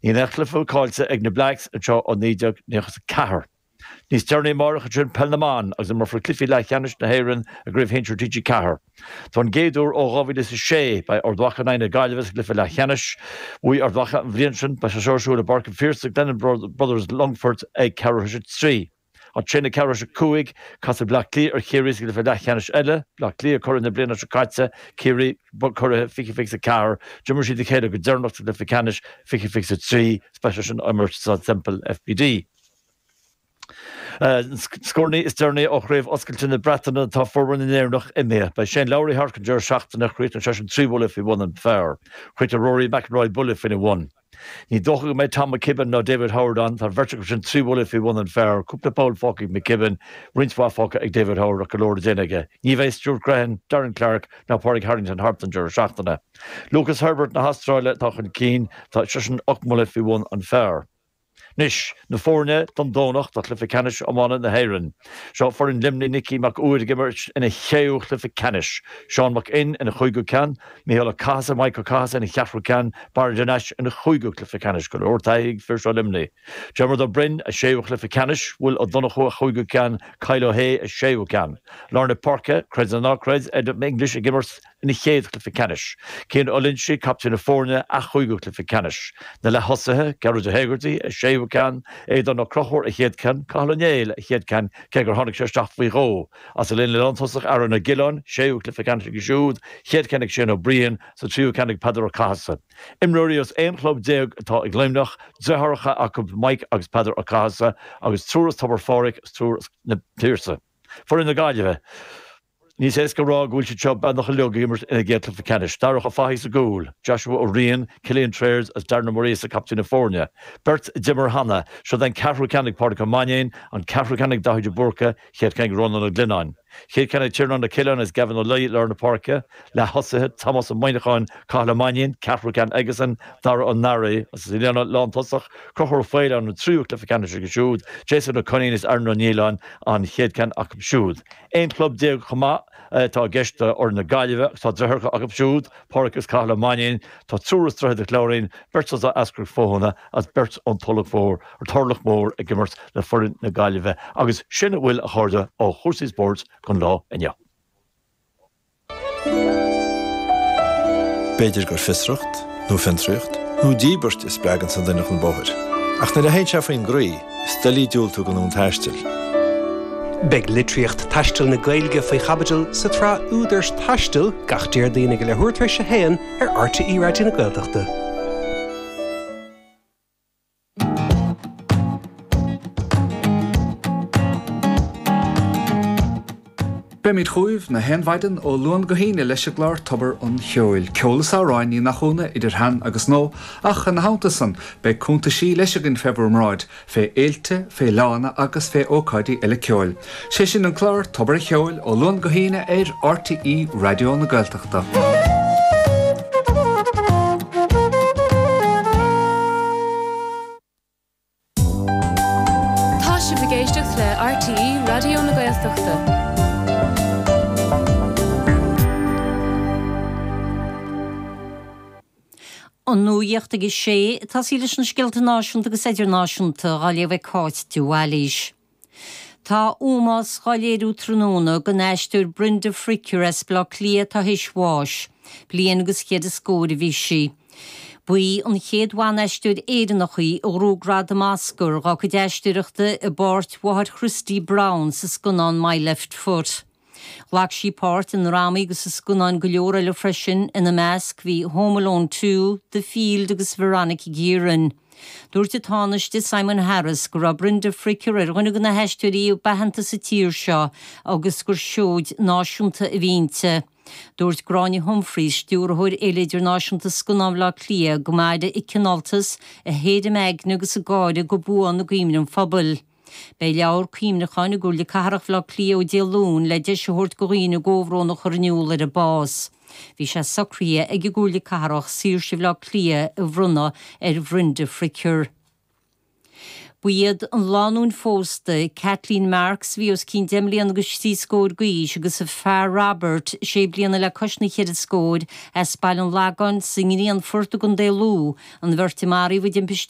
Níl aon chluiche caillte ag na Blacks anseo ó 1994. Níos deireanaí amárach ansin Peil na mBan agus imreofar cluichí leathcheannais na hÉireann i gCraobh Shinsir TG4. Don gcéad uair ó 2006 beidh Ard Mhacha in aghaidh na Gaillimhe sa gcluiche leathcheannais. Bhuaigh Ard Mhacha an bhliain sin. Beidh sé seo ar siúl i bPáirc an Phiarsaigh, Glennon Brothers, Longfort ag ceathrú tar éis a 3. Ansin ag ceathrú tar éis a 5, casfaidh Bleá Cliath ar Chiarraí sa gcluiche leathcheannais eile. Bleá Cliath curaidh na bliana seo caite, Ciarraí curaithe 2024. D'imir siad a chéile go deireanach sa gcluiche ceannais 2023. Beidh sé sin á imirt sa Semple FBD. Scóranna is deireanaí ó Chraobh Oscailte na Breataine tá formhór na nÉireannach imithe. Beidh Shane Lowry thart an deireadh seachtaine. Chríochnaigh seisean 3 bhuille faoi bhun an phar. Chríochnaigh Rory McIlroy buille faoina bhun. Ní dócha go mbeidh Tom McKibbin ná David Howard ann. Tá an bheirt acu sin 3 bhuille faoi bhun an phar. Cúpla poll fágtha ag McKibbin, roinnt mhaith fágtha ag David Howard ach go leor le déanamh aige. Ní bheidh Stuart Grehan, Darren Clarke ná Pádraig Harrington thart an deireadh seachtaine. Lucas Herbert na hAstráile atá chun cinn. Tá seisean 8 mbuille faoi bhun an phar. Anois, na foirne don Domhnach do chluiche ceannais iomána na hÉireann. Seo foireann Luimnigh, Nicky Mac Uidhir ag imirt ina shéú chluiche ceannais, Seán Mac Fhinn ina chúigiú ceann, Micheál Ó Cathasaigh, Mike Ó Cathasaigh ina cheathrú ceann, Barry de Nais ina chúigiú cluiche ceannais. Go leor taithí ag fir seo Luimnigh. Diarmuid Ó Broin, a séú chluiche ceannais, Will Ó Donnchú a chúigiú ceann, Kyle Ó hAodha a séú ceann. Lár na páirce, creid é nó ná creid, Adam English ag imirt ina chéad chluiche ceannais. Cian Ó Loinsigh, captaen na foirne, a chúigiú cluiche ceannais. Na leath-thosaithe, Gearóid Ó hÉigeartaigh, a séú ceann, Aodán Ó Conchúir, a chéad ceann, Cathal Ó Néill, a chéad ceann, cé gur tháinig sé isteach faoi dhó. As an líne lántosach, Aaron Ó Giolláin, séú cluiche ceannais aige siúd, chéad ceann ag Shane Ó Briain, sa tríú ceann ag Peadar Ó Cathasaigh. Imreoirí as 11 chlub atá ag Luimneach, deartháireacha acu Mike agus Peadar Ó Cathasaigh, agus triúr as Tobar Phádraig agus triúr as na Piarsaigh. Foireann na Gaillimhe. Níos éasca a rá go bhfuil siad seo beagnach uilig ag imirt ina gcéad chluiche ceannais. Darach Ó Fathaigh sa gcúl, Joshua Ó Riain, Cillian Trayers agus Darren Ó Muiríosa captaen na foirne. Beirt a d'imir cheana. Seo é an ceathrú ceann ag Pádraic Ó Mainnín, an ceathrú ceann ag Daithí de Búrca, chéad ceann ag Rónán Ó Glionnáin. Chéad ceann ag Tiarnán Ó Coileáin agus Gavin Ó Laoi i lár na páirce. Leath-thosaithe, Tomás Ó Muineacháin, Cathal Ó Mainnín, ceathrú ceann aigesan, Dara Ó Mearaí agus sa líne lántosach, Conchúr Ó Faoláin an tríú cluiche ceannais aige siúd, Jason Ó Coinín is Aaron Ó Nialláin an chéad ceann acu siúd. 11 chlub chomh maith atá i gceist do fhoireann na Gaillimhe agus tá deartháireacha acu siúd, Pádraic agus Cathal Ó Mainnín, tá triúr as Droichead an Chláirín, beirt as Eascarrach Fóthana agus beirt ón Tulach Mhór, Turlach Mór ag imirt le foireann na Gaillimhe agus sin a bhfuil, a chairde, ó chúrsaí spóirt don lá inniu. B'fhéidir gur fiosracht, nó fiontraíocht, nó díbirt a spreaganns an duine chun bóthair. Ach nuair a théann sé faoin gcroí, is doiligh diúltú don fhonn taistil. Beidh litríocht taistil na Gaeilge faoi chaibidil sa tsraith Údair Taistil gach Déardaoin ag a leathuair tar éis a haon ar RTÉ Raidió na Gaeltachta. Beimid chugaibh na haon mhaidin ó Luan go hAoine leis an gclár Tobar an Cheoil. Ceol is amhráin, ní nach ionadh, idir shean agus nua, ach ina theannta san, beidh cuntaisí leis againn fé bhur mbráid, fé fhéilte, fé fhleánna agus fé ócáidí eile ceoil. Sé sin an clár Tobar an Cheoil ó Luan go hAoine ar RTÉ Raidió na Gaeltachta. Tá sibh ag éisteacht le RTÉ Raidió na Gaeltachta. An nuacht ag a sé, ag tosaí leis na scéalta náisiúnta agus idirnáisiúnta á léamh ag Cáit de Bhailís. Tá ómós dhá léiriú tráthnóna don aisteoir Brenda Fricker as Baile Átha Cliath atá théis bháis. Bliain agus chéad is scór a bhí sí. Ba í an chéad bhan-aisteoir Éireannach í a ghnóthaigh gradam Oscar dhá cuid aisteoireachta i bpáirt mháthair Christy Brown sa scannán My Left Foot. Ghlac sí páirt i ndrámaí agus i scannáin go leor eile freisin, ina measc bhí Home Alone 2, The Field agus Veronica Guerin. Dúirt an Tánaiste Simon Harris go raibh Brenda Fricker ar dhuine de na haisteoirí ab aitheanta sa tír seo agus gur seoid náisiúnta a bhí inti. Dúirt Gráinne Humphreys, Stiúrthóir Fhéile Idirnáisiúnta Scannán Bhaile Átha Cliath, go mairfidh a cineáltas, a héirim aigne agus a gáire go buan i gcuimhne an phobail. Beidh leabhar cuimhneacháin i gComhairle Cathrach Bhaile Átha Cliath ó Dé Luain le deis a thabhairt do dhaoine a gcomhbhrón a chur in iúl ar a bás. Bhí sé socraithe ag an gComhairle Cathrach Saoirse Bhaile Átha Cliath a bhronnadh ar Bhrenda Fricker. Ba iad an lánúin phósta, Kathleen Marks, a bhí os cionn deich mbliana agus thrí scór d'aois, agus a fear Robert, sé bliana le cois na cheithre scóir, as Baile an Lagáin sa nGrianfort i gContae Lú, an bheirt a maraíodh i dtimpiste.